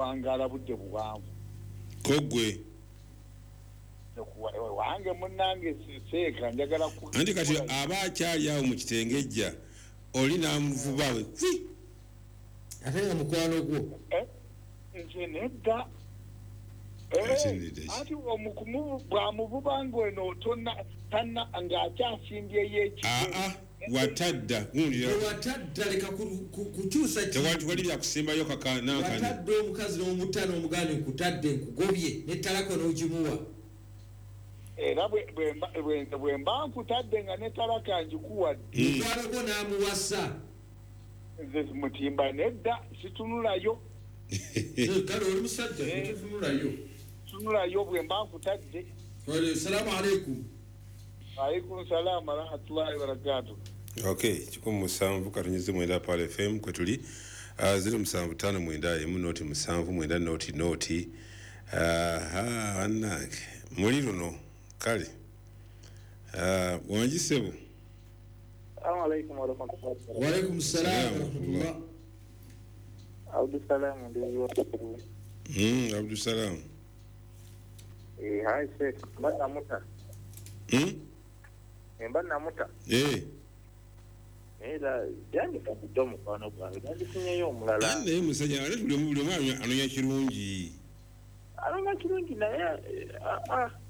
Kuwangaala budde buwanvu. Kogwe wange munnange seeka njagala anti kati aba akyali awo mu kitengejja oli n'amuvuba we kwi ate nga mukwano gwo nze nedda. Anti bwamuvuba ng'eno tonna ng'akyasimbyeyo ekigere. Watadda watadda leka kukyusa tewali byakusimbayo kakanankani. Watadde omukazi n'omutta n'omugaana nkutadde nkugobye nettalako n'ogimuwa. Era bwe mba nkutadde nga nettalaka ngikuwadde. Mukwano gwo n'amuwasa. Nze mutimba nedda situnulayo. Kale oli musajja tetunulayo. Tunulayo bwe mba nkutadde. Salaamu aleikum. Alaikum salaam wa rahmatullahi wa barakatuh. Okay, 779 Pearl FM kwetuli 0759 0 7 0 0. Aha, annange muli luno kale. Wangisebo. Assalamu alaikum wa rahmatullahi. Wa alaikum salaam wa rahmatullah. Abdussalam ndiyo. Abdussalam. Hi Sheikh, mbana muta. Mbana muta. Era yange kabidde mukwano gwange yandifunyeyo omulala. Naye musajja ate buli omu anoonya kirungi. Anoonya kirungi naye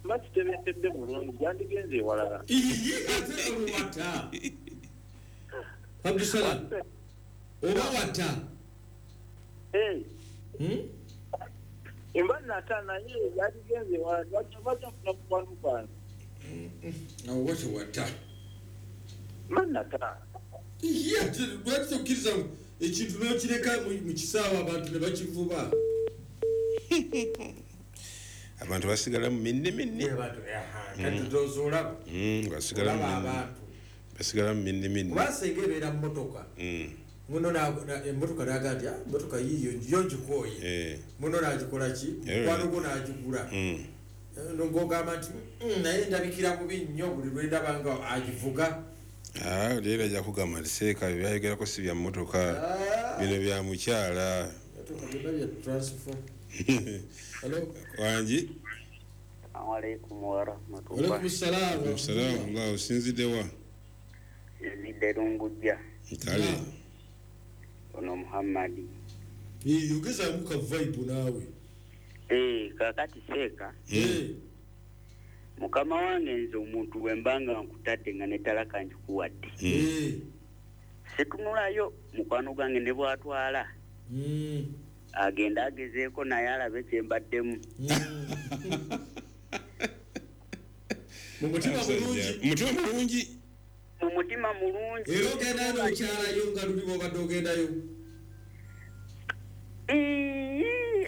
mba kitebenkedde bulungi yandigenze ewalala. Ate wata. Abdussalam. Oba wata. Mba nata naye yandigenze ewalala lwaki bajja mukwano gwange. Awo wati wata. Mba nata. Lwaki tokkiriza ekintu n'okireka mu kisaawe abantu ne bakivuba? Abantu basigala mu minne minne. Kati ndowooza olaba. Basigala mu minne minne. Kuba singa ebeera mu mmotoka. Muno emmotoka n'agamba nti emmotoka yiiyo yo ngikooye. Muno n'agikola ki? Mukwano gwo n'agigula. Ng'ogamba nti naye ndabikira bubi nnyo buli lwe ndaba nga agivuga. Leero ajja kugamba nti seeka byayogerako si bya mmotoka bino bya mukyala. Wangi. Alaikum wa rahmatullah. Alaikum salaam. Salaam Allah osinzidde wa? Nzidde Lungujja. Kale. Ono Muhammadi. Yogezaamu ka vibe naawe. Kaakati seeka. Mukama wange nze omuntu bwe mbanga nkutadde nga nettalaka ngikuwadde. Situnulayo mukwano gwange ne bw'atwala. Agenda agezeeko naye alabe kye mbaddemu. Mu mutima mulungi. Mutima mulungi. Mu mutima mulungi. Era ogendayo n'okyalayo nga luli bw'obadde ogendayo.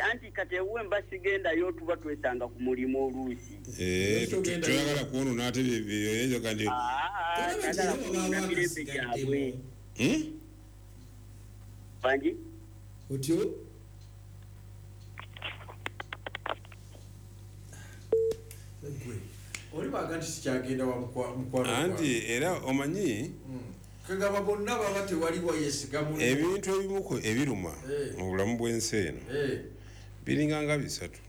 Anti kati ewuwe mba sigendayo tuba twesanga ku mulimu oluusi. Toyagala kwonoona ate byeyoga nti njagala kwonoona mirembe gyabwe. Bangi? Otyo? Oli bw'agamba nti sikyagenda wa mukwano. Anti era omanyi kagamba bonna baba tewali wayesiga munne. Ebintu ebimu ebiruma mu bulamu bw'ensi eno biringa nga bisatu.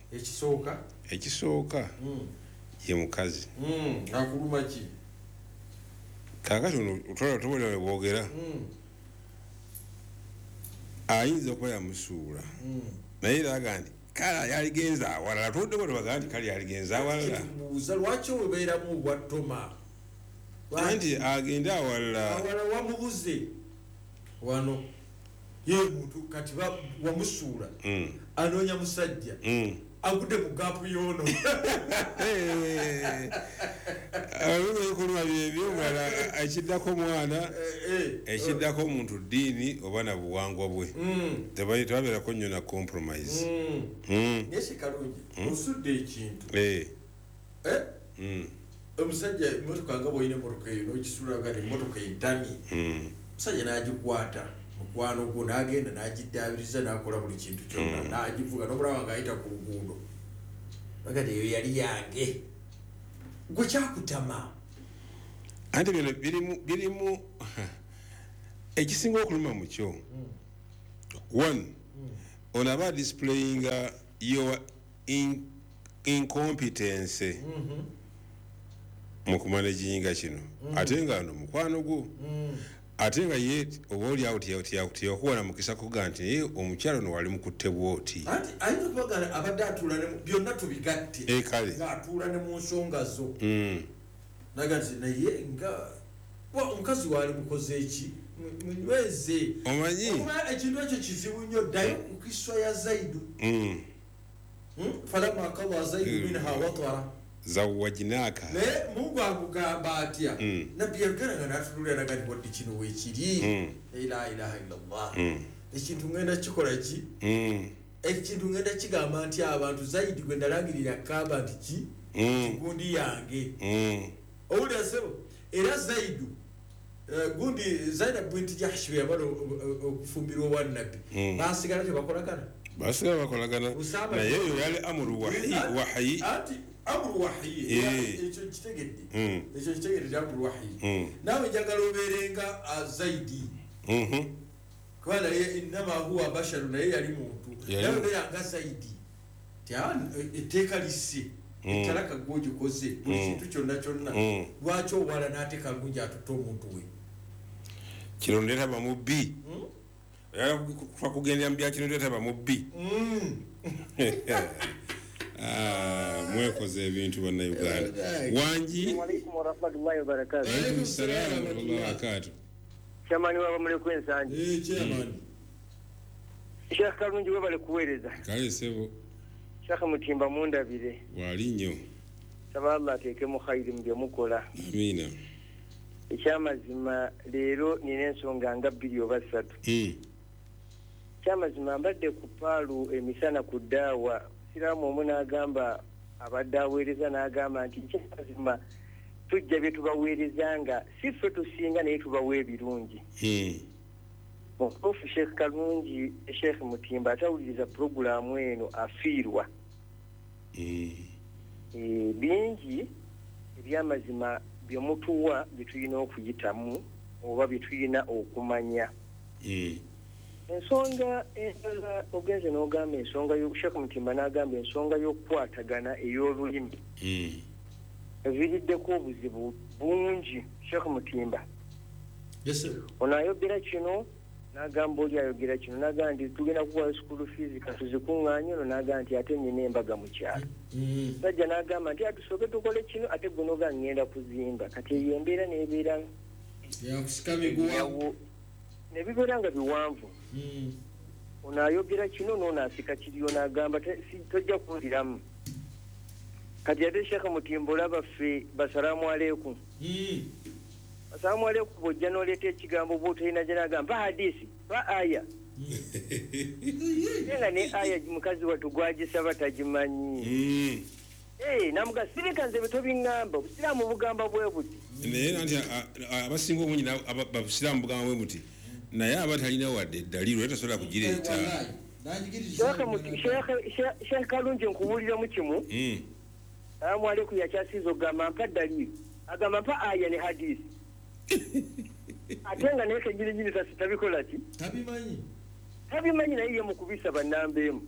Ekisooka ye mukazi. Akuluma ki? Kaakati ono otwala tobola bwogera ayinza okuba yamusuula naye era agamba nti kale yaligenze awalala tuddeko tebagamba nti kale yaligenze awalala. Buuza lwaki obeeramu obwattoma? Anti agende awalala. Awalala wamubuze wano ye muntu kati wamusuula anoonya musajja agudde mu gaapu y'ono. Ebikolwa byebyo omulala ekiddako mwana ekiddako omuntu ddiini oba na buwangwa bwe tebabeerako nnyo na compromise. Naye Kalungi osudde ekintu. Omusajja emmotoka nga bw'olina emmotoka eyo n'ogisuula nga emmotoka entamye. Omusajja n'agikwata mukwano gwo n'agenda n'agiddaabiriza n'akola buli kintu kyonna n'agivuga n'omulaba ng'ayita ku luguudo. Bagamba eyo yali yange. Gwe kyakutama. Anti bino birimu ekisinga okuluma mu kyo. One, Ono aba displaying your incompetence mu kumanaginga kino, ate nga no mukwano gwo, ate nga ye oba oli awo teyakuwa na mukisa kuga nti naye omukyalo no wali mukutte bw'oti. Anti ayinza okuba nga abadde atuula byonna tubigatte, kale ng'atuula ne mu nsonga zo, naga nti naye nga omukazi waali mukoze eki, munyweze. Omanyi ekintu ekyo kizibu nnyo. Ddayo ku kiswa ya Zaidu, falamma qada Zaidu minha watara zawajinaka, naye Mungu akugamba atya? Nabbi yagala nga n'atunulira naga nti wadde kino weekiri, la ilaha illallah, ekintu ngenda kikola ki? Ekintu ngenda kigamba nti abantu Zaidi gwe nalangirira Kaaba nti ki gundi yange. Owulira ssebo? Era Zaidu gundi Zainab binti Jahsh bwe yamala okufumbirwa owa Nabbi, basigala tebakolagana, basigala bakolagana, naye oyo yali amuru wahayi, anti amuru wahayi, ekyo kitegedde, ekyo kitegedde amuru wahayi. Naawe njagala obeerenga Zaidi, kuba naye innama huwa basharu, naye yali muntu, naye obeeranga Zaidi ti etteeka lisse, ettalaka gw'ogikoze buli kintu kyonna kyonna, lwaki owala n'ate Kalungi atutte omuntu we? Kino ndeetaba mu bbi, oyagala kugendera mu bya kino ndeetaba mu bbi. Mwekoze ebintu bannayuganda. Wangi. Alaikum warahmatullahi wabarakatuh. Alaikum salaam warahmatullahi wabarakatuh. Chairman w'abamulekwa ensangi. Chairman. Sheikh Kalungi webale kuweereza. Kale ssebo. Sheikh Mutimba mundabire. Wali nnyo. Saba Allah ateekemu khayiri mu bye mukola. Amiina. Ekyamazima leero nina ensonga nga 2 oba 3. Ekyamazima mbadde ku paalu emisana ku ddaawa, Siraamu omu n'agamba abadde aweereza n'agamba nti ekyamazima tujja bye tubaweereza nga si ffe tusinga naye tubawa ebirungi. Mutuufu Sheikh Kalungi, Sheikh Mutimba atawuliriza purogulaamu eno afiirwa. Bingi ebyamazima bye mutuwa bye tulina okuyitamu oba bye tulina okumanya. Ensonga endala ogenze n'ogamba ensonga Sheikh Mutimba n'agamba ensonga y'okukwatagana ey'olulimi eviiriddeko obuzibu bungi. Sheikh Mutimba, ono ayogera kino n'agamba oli ayogera kino, n'agamba nti tugenda kuwa school fees katuzikuŋŋaanye, ono n'agamba nti ate nnyina embaga mu kyalo. Sajja n'agamba nti atusooke tukole kino, ate gwe n'ogamba ŋŋenda kuzimba. Kati eyo embeera n'ebeera ne bibeera nga biwanvu. Ono ayogera kino n'ono asika kiriyo n'agamba tojja kunziramu. Kati ate Sheikh Mutimba olaba ffe basalaamu aleikum. Asalamu aleikum bw'ojja n'oleeta ekigambo bw'otolina gye n'agamba mpa hadisi, mpa aya. Nga ne aya mukazi wattu gwagisaba tagimanyi. Namuga sirika nze bwe tobiŋŋamba, obusiraamu bugamba bwe buti. Naye anti abasinga obungi abasiraamu bugamba bwe buti, naye aba talina wadde eddaliiro era tasobola kugireeta. Sheikh Kalungi nkubuuliramu kimu. Salaamu aleikum yakyasiiza okugamba mpa ddaliiro, agamba mpa aya ne hadisi. Ate nga naye kennyininyini tabikola ki? Tabimanyi, naye ye mukubisa bannamba emu.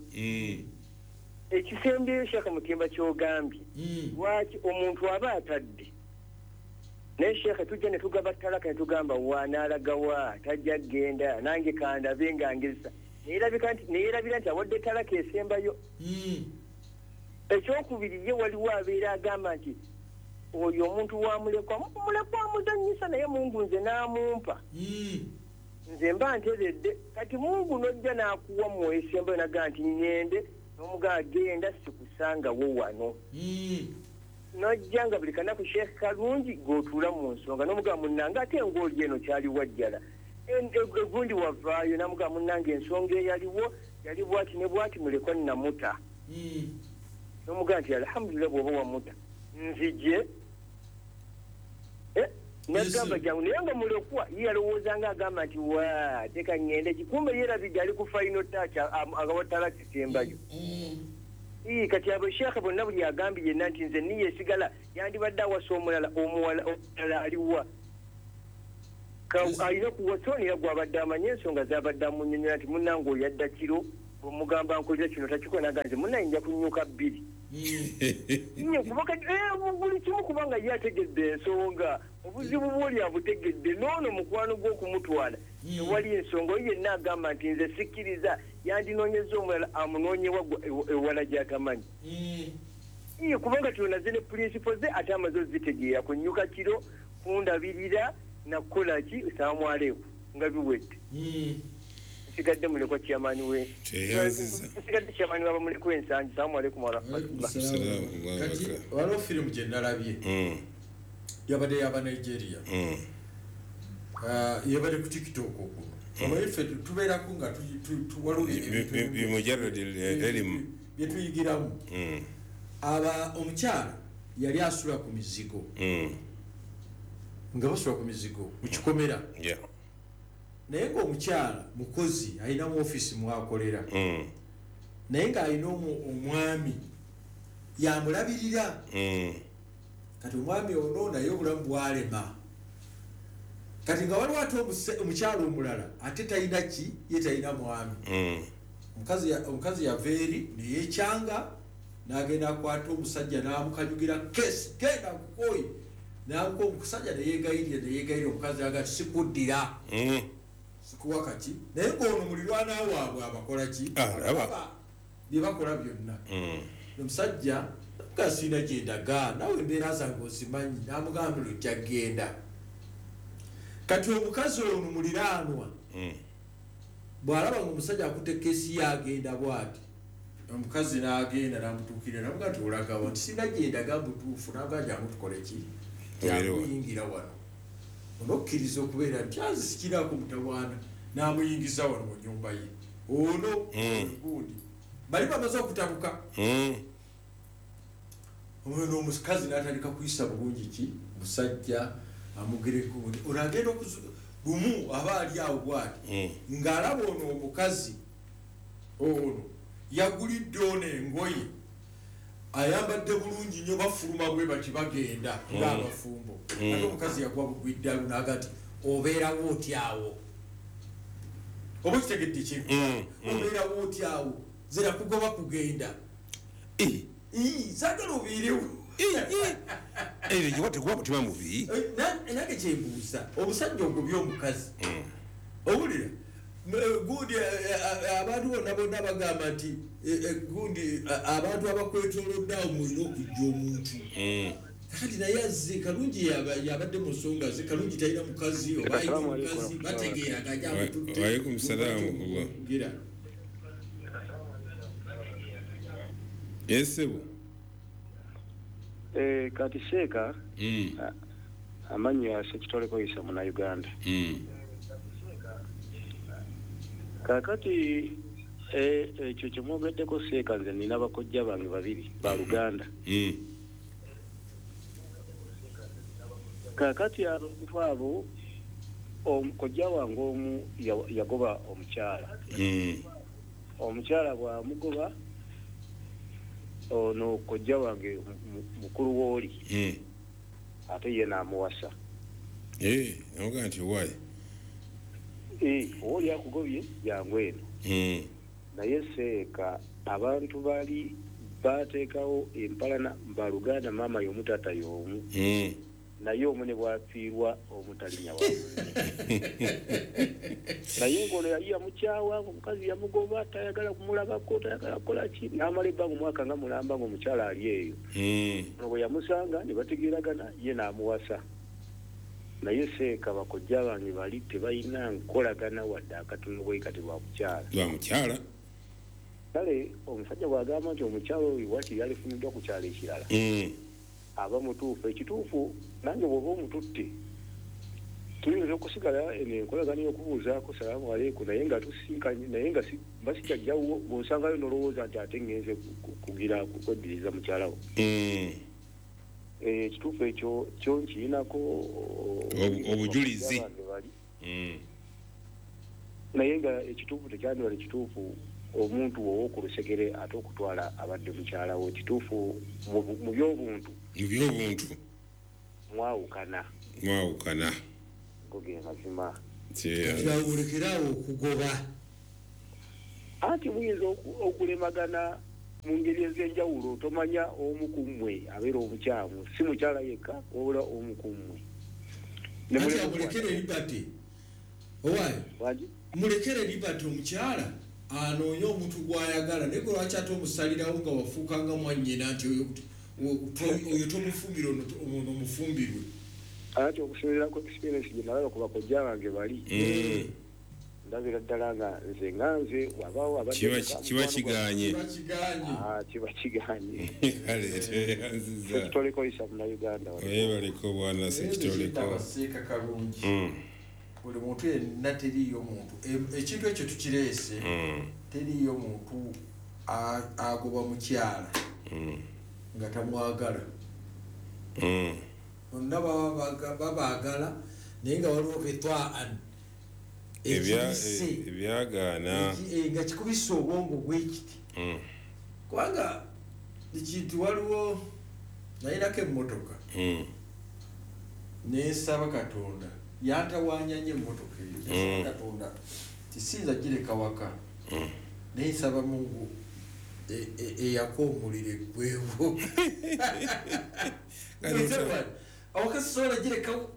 Ekisembyeyo Sheikh Mutimba ky'ogambye, lwaki omuntu aba atadde naye Sheikh tujja ne tugaba talaka ne tugamba wa n'alaga wa tajja kgenda nange kandabe nga ngezesa, neerabira nti awadde talaka esembayo. Ekyokubiri ye waliwo abeera agamba nti oyo omuntu wamulekwa, mulekwa amuzannyisa naye Mungu nze n'amumpa, nze mba nteredde. Kati Mungu n'ojja n'akuwa mwesembayo n'agamba nti ŋŋende, n'omugamba genda sikusangawo wano. N'ojja nga buli kanaku Sheikh Kalungi g'otuula mu nsonga n'omugamba munnange ate ng'oli eno kyali wajjala, egundi wavaayo n'amugamba munnange ensonga eyaliwo yali bwati ne bwati, mulekwa nnamuta. N'omugamba nti alhamdulillah bw'oba wamuta nzije. Nagamba jangu, naye nga mulekwa ye yalowooza nga agamba nti wa teka ŋŋende ki, kumbe yeerabidde ali ku final touch agawa talaka esembayo. Kati abo Sheikh bonna buli agambye yenna nti nze niye esigala yandibadde awasa omulala, omulala aliwa alina kuwasa ono era gwabadde amanye ensonga z'abadde amunnyonnyola nti munnange oyo yadda kiro Omugamba nkulira kino takikola naganze munnaye nja kunyuka bbiri. Nnyo kuba kati buli kimu kubanga ye ategedde ensonga, obuzibu bw'oli abutegedde, n'ono mukwano gw'okumutwala tewali ensonga. Oyo yenna agamba nti nze sikkiriza, yandinoonyezza omulala amunoonye ewala gy'atamanyi. Iye kubanga tunaze ne principles ze ate amaze ozitegeera, kunyuka kiro, kundabirira, nakukola ki, salaamu aleikum nga biwedde. Nsigadde mulekwa chairman we. Nsigadde chairman wa mulekwa Ensangi. Salaamu aleikum wa rahmatullah. Kati waliwo firimu gye nalabye yabadde yaba Nigeria, yabadde ku TikTok okuno. Omanyi ffe tubeerako nga waliwo bye tuyigiramu. Aba omukyala yali asula ku mizigo, nga basula ku mizigo mu kikomera, naye ng'omukyala mukozi alina mu ofiisi mwakolera, naye ng'alina omwami yamulabirira. Kati omwami ono naye obulamu bwalema. Kati nga waliwo ate omukyala omulala ate talina ki, ye talina mwami. Omukazi yava eri neyekyanga n'agenda akwata omusajja n'amukanyugira kesi, genda nkukoyi, n'amuka omusajja neyegayirira omukazi aga sikuddira, sikuwa kaki. Naye ng'ono mulirwana waabwe abakola ki, bye bakola byonna. Omusajja nga sirina gye ndaga, naawe embeera zange ozimanyi, n'amugambira ojja genda. Kati omukazi ono muliraanwa bw'alaba ng'omusajja akutte kesi ye agenda bw'ati, omukazi n'agenda n'amutuukirira n'amugamba nti olagawa, nti sirina gye ndaga butuufu, n'amugamba jangu tukole ki, jamuyingira wano. Onokkiriza okubeera nti azisikirako mutawaana, n'amuyingiza wano mu nnyumba ye. Ono gundi bali bamaze okutabuka. Ono omukazi n'atandika kuyisa bulungi ki musajja, amugereko ono agenda lumu aba ali awo bw'ati ng'alaba ono omukazi ono yagulidde ono engoye, ayambadde bulungi nnyo, bafuluma bwe bati bagenda ng'abafumbo. Ate omukazi yagwa bugwi ddalu n'aga nti obeerawo otyawo, oba okitegedde ki, obeerawo otyawo, nze nakugoba kugenda, saagala obeerewo. Tekuba mutima mubi. Nange kyembuuza, omusajja ogobye omukazi, owulira gundi abantu bonna bonna bagamba nti gundi abantu abakwetoolodde awo mulina okujja omuntu. Kakati naye azze Kalungi yabadde mu nsonga ze, Kalungi talina mukazi oba alina omukazi, bategeeraganya amututte. Wa alaikum salaam wa rahmatullah. Esebo. Kati Sheeka amannya Ssekitoleko Isa Munnayuganda. Kaakati ekyo kye mwogeddeko Sheeka, nze nina bakojja bange babiri ba Luganda. Kaakati abantu abo, kojja wange omu yagoba omukyala. Omukyala bw'amugoba, ono kojja wange mukulu wooli ate ye n'amuwasa. Namugamba nti owaaye oli akugobye jangu eno. Naye Seeka abantu bali bateekawo empalana baluganda, maama y'omu taata y'omu, naye omu ne bw'afiirwa omutalinya wa naye ng'ono yali yamukyawa, omukazi yamugoba, tayagala kumulabako, tayagala kukola ki, n'amala ebbanga omwaka nga mulamba ng'omukyala ali eyo. Ono bwe yamusanga ne bategeeragana, ye n'amuwasa. Naye Seeka bakojja bange bali tebalina nkolagana wadde akatono bwe kati lwa mukyala. Lwa mukyala. Kale omusajja bw'agamba nti omukyala oyo wakiri yalifumiddwa ku kyalo ekirala, aba mutuufu. Ekituufu nange bw'oba omututte tuyinza okusigala eno enkolagana y'okubuuzaako salaamu aleikum, naye nga tusinkanye, naye nga basikajjawo bw'osangayo n'olowooza nti ate ngenze kugira kweddiriza mukyala wo. Ekituufu ekyo kyo nkirinako obujulizi. Naye nga ekituufu tekyandibala ekituufu omuntu ow'oku lusegere ate okutwala abadde mukyala wo. Ekituufu mu by'obuntu, mu by'obuntu mwawukana. Mwawukana. Go ge mazima. Kyawulekerawo okugoba. Anti muyinza okulemagana mu ngeri ez'enjawulo, tomanya omu ku mmwe abeera omukyamu, si mukyala yekka wabula omu ku mmwe. Mulekere Liberty owaayo, mulekere Liberty omukyala anoonye omuntu gw'ayagala, naye gwe lwaki ate omusalirawo nga wafuuka nga mwannyina nti oyo tomufumbira ono omufumbirwe? Anti okusinziira ku experience gye nalaba ku bakojja bange bali, ndabira ddala nga nze wabaawo abadde kiba kigaanye. Kiba kigaanye. Sekitoleko isa Munnayuganda. Weebaleko bwana Sekitoleko. Seeka Kalungi. Buli muntu yenna teriiyo muntu, ekintu ekyo tukireese, teriiyo muntu agoba mukyala nga tamwagala. Bonna babaagala naye nga waliwo ketwaan ebyagaana nga kikubisa obwongo bwekiti. Kubanga ekintu waliwo nayinako emmotoka nensaba Katonda yantawaanya nnyo emmotoka eyo, nsaba Katonda tisinza gireka waka, naye nsaba Mungu eyaka omuliro eggwewo awaka sisobola girekawo,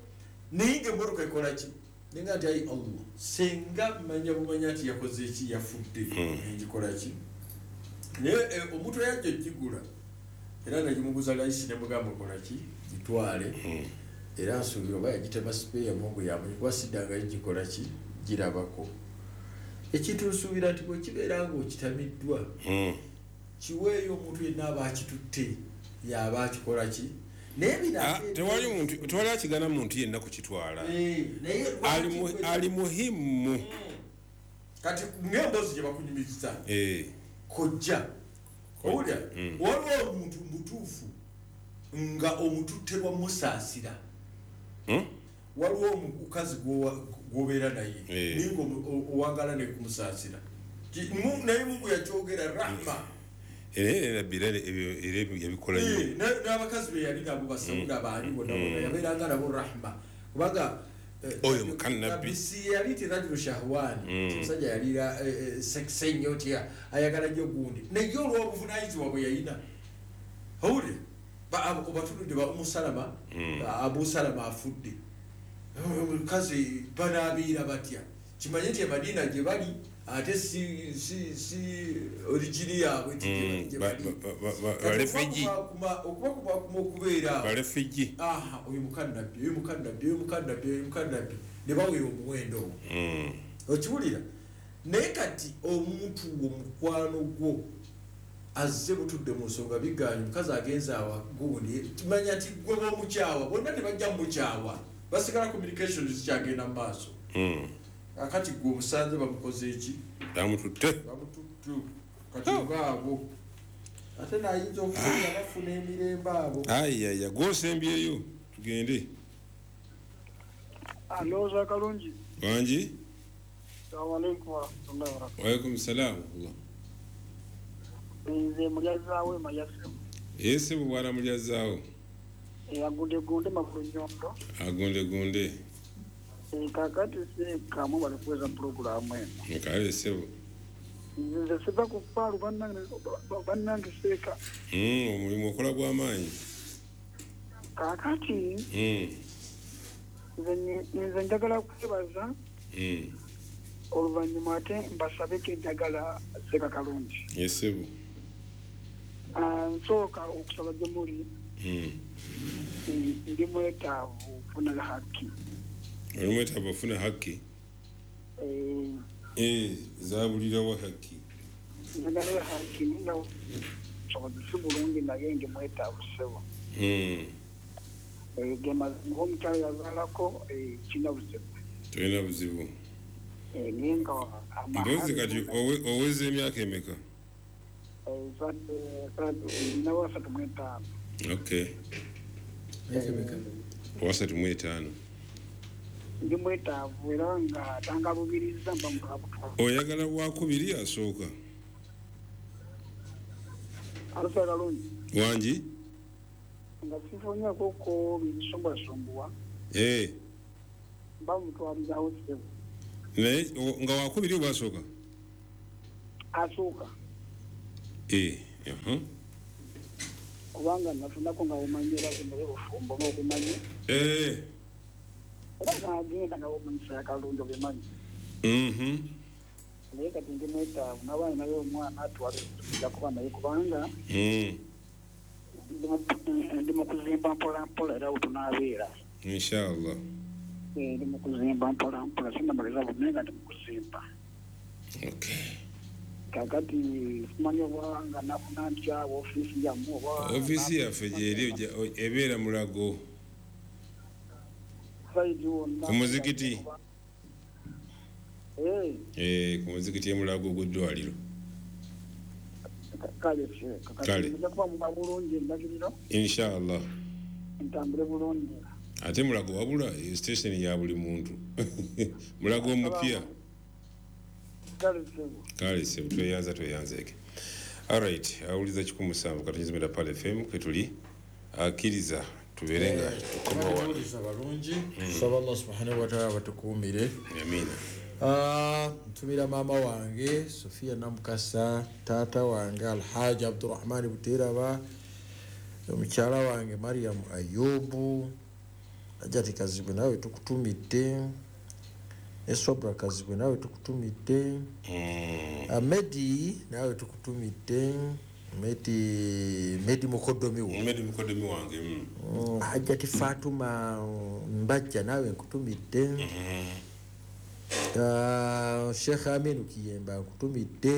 naye nga emmotoka ekola ki? Nenga nti ayi Allah, senga manya bumanya nti yakoze eki, yafudde, ngikola ki? Naye omuntu eyajja ogigula era nagimuguza layisi ne mugamba kola ki, gitwale. Era nsuubira oba yagitema sipeeya Mungu yamanyi, kuba siddangayo gikola ki, girabako. Ekintu nsuubira nti bwe kibeera ng'okitamiddwa, kiweeyo omuntu yenna aba akitutte yaba akikola ki. Tewali akigana muntu yenna kukitwala, ali muhimu. Kati ng'emboozi gye bakunyumiza kojja owulira, waliwo omuntu mutuufu nga omututte lwa musaasira. Waliwo omukazi gw'obeera naye naye nga owangala ne kumusaasira, naye Mungu yakyogera rahma. Era yabikola nnyo n'abakazi be yali nabo basawuda baani bonna bonna yabeeranga nabo rahma, kubanga oyo mukannabbi si yali ti rajulu shahwani, omusajja yalira sekise nnyo nti ayagala nnyo gundi, naye olw'obuvunaanyizibwa bwe yalina. Owulire obatunudde ba Umusalama, Abu Salama afudde, omukazi banaabiira batya? Kimanye nti Emadiina gye bali ate si origini yaabwe gye bali. Okubakumakuma okubeera oyo mukannabbi, oyo mukannabbi, oyo mukannabbi, oyo mukannabbi, ne bawera omuwendo ogwo. Okiwulira? Naye kati omuntu wo mukwano gwo azze butudde mu nsonga bigaanye, omukazi agenze awa gundi, kimanya nti gwe b'omukyawa bonna tebajja mukyawa, basigala communication zikyagenda mu maaso. Akati gwe omusanze bamukoze eki? Bamututte. Kati ngaabo ate nayinza okufunya bafuna emirembe abo. Ayaya, gw'osembyeyo tugende. Alooza Kalungi. Wangi? Assalamu alaikum warahmatullahi wabarakatuh. Wa alaikum salaam. Nze Mulyazaawo Emayase. Ese bwana Mulyazaawo. Agunde gunde magulu nyondo. Agunde gunde. Kakati seeka bali kuweza pulogulaamu eno. Kale ssebo. Nze siva ku ppaalu bannange seeka. Omulimu okola gw'amaanyi. Kaakati nze njagala kwebaza oluvannyuma ate mbasabe ke njagala Seeka Kalungi. Ssebo. Nsooka okusaba gye muli ndi mwetaavu okufuna haki. Oli mwetaavu ofuna haki? Zaabulirawa haki? Njagala haki nga busobozi si bulungi naye ndi mwetaavu ssebo. Ge mazima omukyala yazaalako kirina buzibu. Tolina buzibu. Naye nga mpozi kati oweza emyaka emeka? Nina 35. Okay. 35. Ndi mwetaavu era nga tangalubiriza mba mukabutwa. Oyagala wakubiri asooka? Alusa Kalungi. Wangi? Nga sifunyako ko binsumbwasumbuwa. Mba mutwalizaawo ssebo. Naye nga wakubiri oba asooka? Asooka. Kubanga nafunako nga omanyira zino obufumbo n'obumanyi. Era nagenda nga omanyisa akalungi obimanyi. Naye kati ndi mwetaavu n'abaana naye omwana atwale tujja kuba naye kubanga ndi mu kuzimba mpola mpola era wetunaabeera. Inshallah. Ndi mu kuzimba mpola mpola sinnamaliza bonna nga ndi mu kuzimba. Okay. Kakati simanyi oba nga nafuna ntya ofiisi yammwe oba ofiisi yaffe gyeri ebeera Mulago. Ku muzikiti. Ku muzikiti e Mulago gw'eddwaliro. Kale kale. Nja kuba muba bulungi endagiriro. Inshallah. Ntambule bulungi. Ate Mulago wabula station ya buli muntu. Mulago omupya. Kale sebo tweyanza tweyanzeke. Alright, awuliza 17 katonyezimira Pale FM kwetuli akkiriza tuberenga tukomawa. Tuwuliza balungi. Tusaba Allah subhanahu wa ta'ala batukuumire. Amina. Ntumira maama wange Sofia Namukasa, taata wange Alhaji Abdurrahman Buteraba, omukyala wange Mariam Ayubu, Ajati Kazibwe nawe tukutumidde, Esobra Kazibwe nawe tukutumidde, Amedi nawe tukutumidde, Medi mukodomi wo. Medi mukodomi wange. Hajati Fatuma Mbajja nawe nkutumidde. Sheikh Aminu Kiyemba nkutumidde.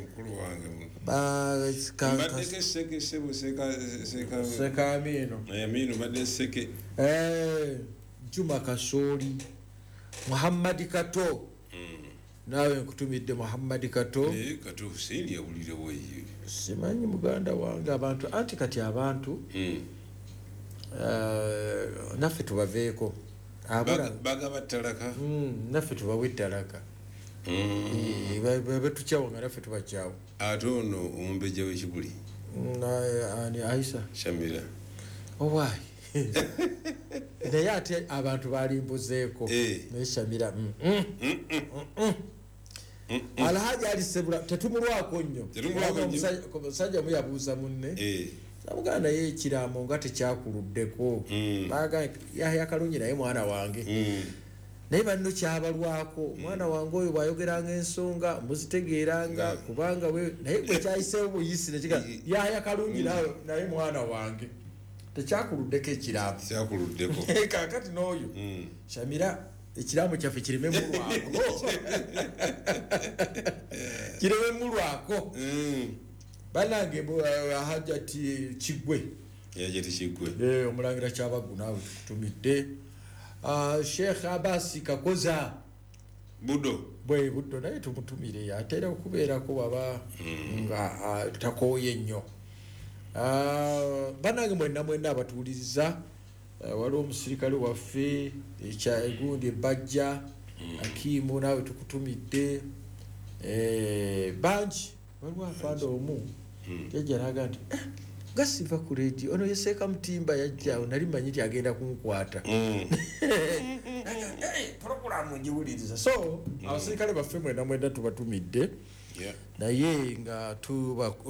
Mukulu wange. Mbadde seke sebo seka Aminu. Aminu mbadde seke. Juma Kasoli, Muhammad Kato. Nawe nkutumidde Muhammad Kato. Kato Hussein yawulire weyo. Simanyi muganda wange abantu anti kati abantu. Naffe tubaveeko. Bagaba talaka. Naffe tubawe talaka. Betukyawo nga naffe tubakyawo. Ate ono omumbejja w'ekibuli. Ani Aisha. Shamira. Owaayi. Naye ate abantu balimbuzeeko. Naye Shamira. Alhaji Ali Sebula tetumulwako nnyo. Omusajja omu yabuuza munne. Namugamba naye ekiraamo nga tekyakuluddeko. Baagamba Yahya Kalungi naye mwana wange. Naye banno kyabalwako omwana wange oyo bw'ayogeranga ensonga muzitegeeranga kubanga we naye gwe kyayiseewo buyisi nekiga Yahya Kalungi naye mwana wange. Tekyakuluddeko ekiraamo. Kyakuluddeko. Kaakati n'oyo Shamira ekiraamo kyaffe kireme mulwako. Kireme mulwako. Banange Hajati Kigwe. Hajati Kigwe. Omulangira Kyabaggu naawe tukutumidde. Sheikh Abasi Kakoza. Budo. Bwe Budo naye tumutumire atera okubeerako baba nga takooye nnyo. Banange mwenna mwenna abatuwuliriza waliwo omusirikale waffe ekya egundi Bajja Akimu naawe tukutumidde. Bangi waliwo afande omu yajja n'agamba nti nga siva ku leediyo ono ye Seeka Mutimba yajja awo nali mmanyi nti agenda kunkwata. Pulogulaamu ngiwuliriza. So abasirikale baffe mwenna mwenna tubatumidde. Naye nga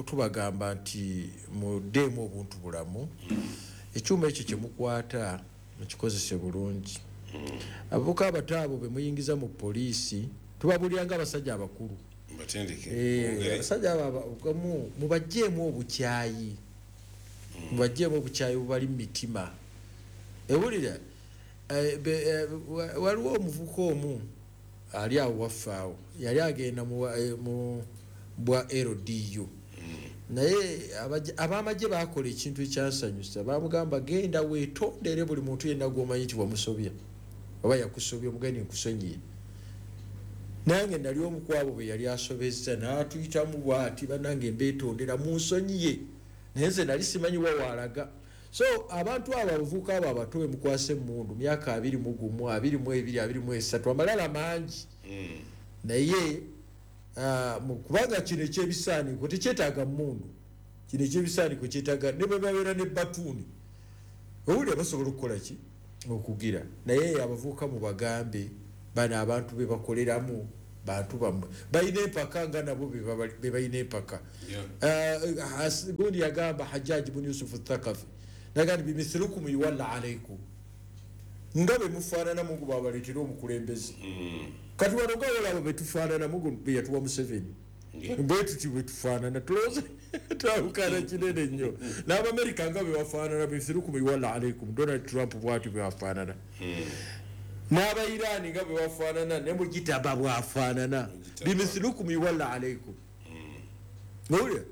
tubagamba nti muddeemu obuntu bulamu. Ekyuma ekyo kye mukwata mukikozese bulungi. Abavubuka abato abo be muyingiza mu poliisi tubabuulira nga abasajja abakulu. Batendeke. Abasajja abo mubaggyemu obukyayi. Mubaggyemu obukyayi bubali mu mitima. Ewulira waliwo omuvubuka omu ali awo waffe awo yali agenda mu bwa LDU. Naye ab'amagye baakola ekintu ekyansanyusa. Baamugamba genda weetondere buli muntu yenna gw'omanyi nti wamusobya oba yakusobya omugende nkusonyiye. Nange nali omu ku abo be yali asobezza n'atuyitamu bw'ati bannange mbeetondera munsonyiye. Naye nze nali simanyi wa waalaga. So abantu abo abavubuka abo abato be mukwasa emmundu myaka 21, 22, 23 amalala mangi. Naye kubanga kino ekyebisaaniko tekyetaaga mmundu. Kino ekyebisaaniko kyetaaga ne bwe babeera ne batuuni. Owulira basobola okukola ki? Okugira. Naye abavubuka mubagambe bano abantu be bakoleramu Bantu bammwe balina empaka nga nabo be balina empaka. Gundi yagamba Hajjaji bun Yusuf Thakafi nagamba bimithlukum yuwalla alaykum, nga bwe mufaanana Mungu bw'abaleetera omukulembeze. Kati wano nga olaba bwe tufaanana Mungu bwe yatuwa Museveni, bwe tuti bwe tufaanana tulowooza twawukana kinene nnyo. N'Abamerika nga bwe bafaanana bimithlukum yuwalla alaykum, Donald Trump bw'atyo bwe bafaanana, n'Abairani nga bwe bafaanana, ne Mujitaba bw'afaanana, bimithlukum yuwalla alaykum. Owulira?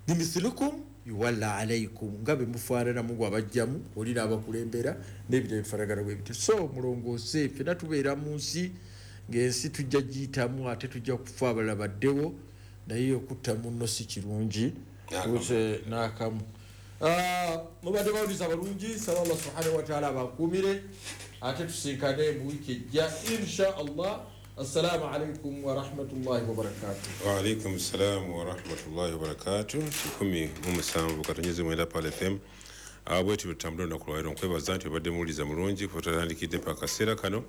Bimithlukum yuwalla alaykum, nga bwe mufaanana Mungu abajjamu oli n'abakulembera n'ebirala ebifaanagana bwe bityo. So mulongoose, ffenna tubeera mu nsi ng'ensi tujja giyitamu ate tujja kufa abalala baddewo, naye okutta munno si kirungi n'akamu. Mubadde bawuliza balungi, saba Allah subhanahu wa ta'ala abakuumire ate tusinkane mu wiiki ejja insha Allah. Assalamu alaikum wa rahmatullahi wa barakatuh. Wa alaikum salam wa rahmatullahi wa barakatuh. 17 9 Pal FM. Bwetu tutambula olunaku lwaleero, nkwebaza nti obadde muwuliza mulungi kuba tutandikidde paka akaseera kano.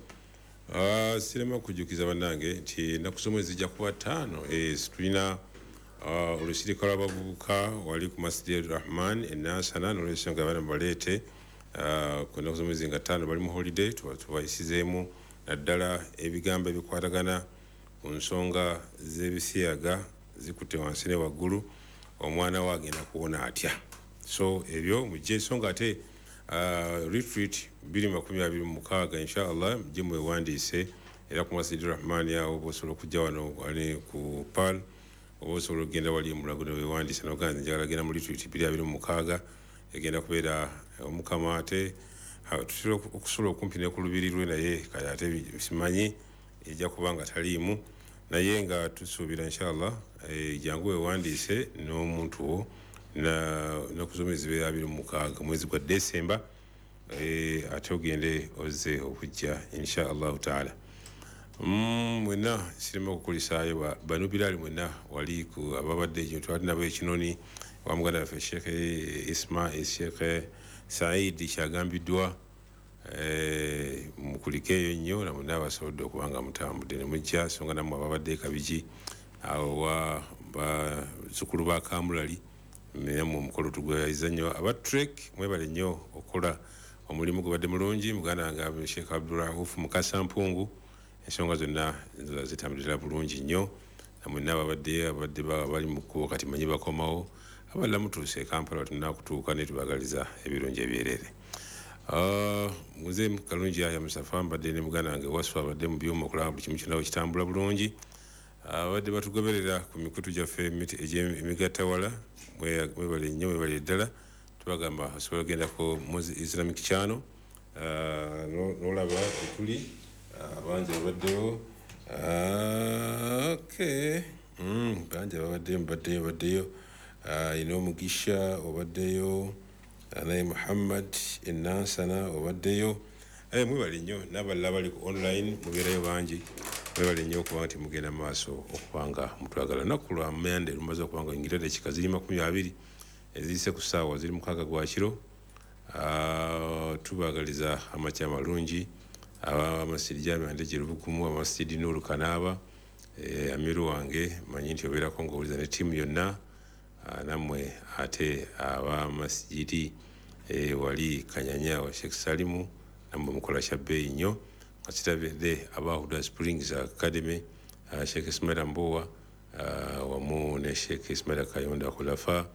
Sirema kujjukiza bannange nti ennaku z'omwezi zijja kuba 5. Tulina olusirika lw'abavubuka wali ku Masjid Rahman e Nansana, n'olwensonga abaana mubaleete ku nnaku z'omwezi nga 5 bali mu holiday, tubayisizeemu naddala ebigambo ebikwatagana ku nsonga z'ebisiyaga zikutte wansi ne waggulu, omwana we agenda kuwona atya. So ebyo mujje, ensonga ate retreat 2026 inshallah mujje mwewandiise era ku Masjid Rahman awo, oba osobola okujja wano wali ku Pearl, oba osobola okugenda wali Mulago ne weewandiisa n'ogamba nze njagala genda mu retreat 2026, egenda kubeera Omukama. Ate tutera okusula okumpi ne ku lubiri lwe, naye kale ate simanyi ejja kuba nga taliimu, naye nga tusuubira inshallah jangu weewandiise n'omuntu wo nnaku z'omwezi 26 mwezi gwa Desemba, ate ogende ozze okujja insha Allahu taala. Mwenna sirema okukulisaayo banu Bilali mwenna wali ku ababadde eyo twali nabo ekinoni wa muganda waffe Sheikh Isma Sheikh Saidi kyagambiddwa, mukulikeeyo nnyo na mwenna abasobodde okuba nga mutambudde ne mujja, so nga nammwe ababadde e Kabigi awo wa bazzukulu ba Kamulali nammwe omukolo tugweyayiza nnyo. Aba Trek mwebale nnyo okukola omulimu gubadde mulungi. Muganda wange Sheikh Abdurahuf Mukasa Mpungu, ensonga zonna zitambulira bulungi nnyo, namwenna ababadde bali mu kkubo kati manyi bakomawo, abalala mutuuse e Kampala tulina kutuuka ne tubagaliza ebirungi ebyereere. Muze Kalungi Yahya Musafa mbadde ne muganda wange Waswa abadde mu byuma okulaba buli kimu kyonna kitambula bulungi. Abadde batugoberera ku mikutu gyaffe emigattawala, mwebale nnyo, mwebale ddala. Tubagamba osobola ogendako mu Islamic Channel n'olaba etuli bangi babaddewo. Okay, bangi babaddeyo, mubaddeyo baddeyo. Ina Omugisha obaddeyo, naye Muhammad Enansana obaddeyo. Mwebale nnyo n'abalala bali ku online mubeerayo bangi, mwebale nnyo okuba nti mugenda mu maaso okuba nga mutwagala. Olunaku lwa Mmande lumaze okuba nga oyingira eddakiika ziri 20 eziyise ku ssaawa ziri 6 gwa kiro. Tubaagaliza amakya amalungi abamasidi Jami Ndeje Lubugumu, amasidi Nuru Kanaaba, amiru wange manyi nti obeerako ng'owuliza ne ttiimu yonna, nammwe ate abamasijidi wali Kanyanya wa Sheikh Salimu, nammwe mukola kya bbeeyi nnyo. Nga kitabedde aba Huda Springs Academy, Sheikh Ismaila Mbowa wamu ne Sheikh Ismaila Kayonda Khulafa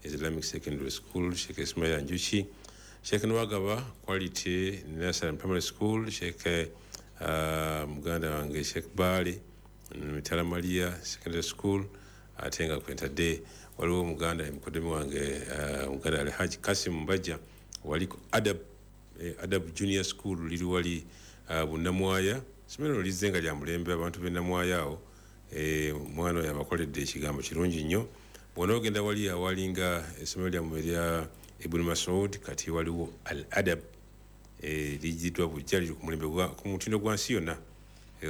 Islamic Secondary School, Sheikh Ismaila Njuki, Sheikh Nwagaba Quality Nursery Primary School, Sheikh muganda wange Sheikh Bali Mitala Maria Secondary School, ate nga kwentadde waliwo muganda mukodemi wange muganda Alhaji Kasim Mbajja wali ku Adab, Adab Junior School liri wali Bunnamwaya. Essomero lizze nga lya mulembe, abantu b'e Namwaya awo omwana oyo abakoledde ekigambo kirungi nnyo. Bw'onoogenda wali awalinga essomero lyammwe erya Ibn Masud, kati waliwo Al Adab lijjiddwa bujja, liri ku mulembe ku mutindo gwa nsi yonna.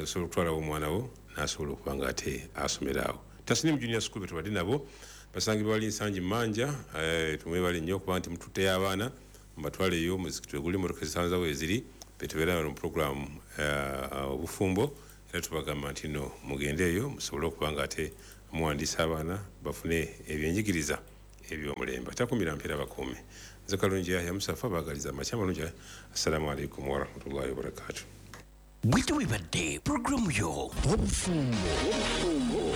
Osobola okutwalawo omwana wo n'asobola okuba nga ate asomera awo. Tasnim Junior School be tubadde nabo basangibwa wali Nsangi Mmanja. Tumwebale nnyo okuba nti mututteyo abaana mubatwaleyo, omuzikiti we guli, emmotoka ezisanzawo eziri, betubeera mu puroguramu obufumbo, Era tubagamba nti no mugende eyo musobole okuba nga ate muwandiisa abaana bafune ebyenjigiriza ebyomulembe. Atakumira mpeera bakuume. Nze Kalungi Yahya Musafa baagaliza amakya amalungi. Assalamu alaikum warahmatullahi wabarakatuh. Bwetyo bwebadde pulogulaamu yo Obufumbo.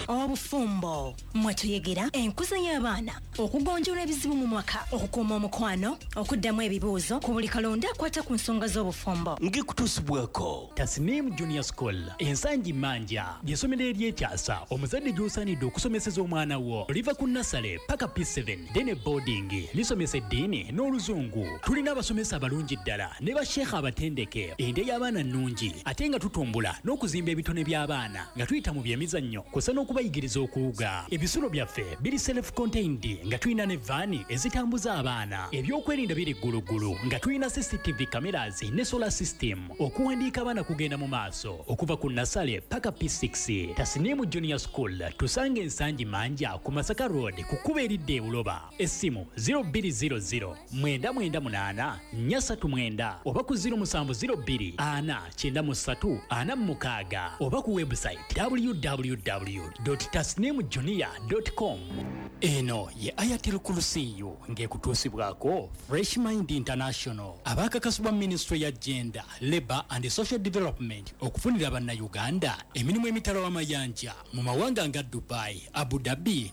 Obufumbo mwe tuyegera enkuza y'abaana, okugonjoola ebizibu mu mwaka, okukuuma omukwano, okuddamu ebibuuzo ku buli kalonda akwata ku nsonga z'obufumbo. Ng'ekutuusibwako Tasnim Junior School Ensangi Manja ly'essomero eryekyasa omuzadde gy'osaanidde okusomeseza omwana wo. Liva ku nasale paka P7 then boarding, lisomesa eddiini n'oluzungu. Tulina abasomesa abalungi ddala ne basheekha abatendeke. Endya y'abaana nnungi ate nga tutumbula n'okuzimba ebitone by'abaana nga tuyita mu byemizannyo kw'ossa n'okubayigiriza okuwuga. Ebisulo byaffe biri self contained nga tulina ne vaani ezitambuza abaana. Ebyokwerinda biri gguluggulu nga tulina CCTV cameras ne solar system. Okuwandiika abaana kugenda mu maaso okuva ku nasale paka P6. Tasnimu Junior School tusange Ensangi Manja ku Masaka Road ku kkubo eridda e Buloba. Essimu 0200 998 439 oba ku 0702 493 46 oba ku website www.tasnimjunior.com. Eno ye Ayatul Kursiyu ng'ekutuusibwako Fresh Mind International abaakakasibwa Ministry ya Gender, Labour and Social Development okufunira Bannayuganda emirimu emitala w'amayanja mu mawanga nga Dubai, Abu Dhabi.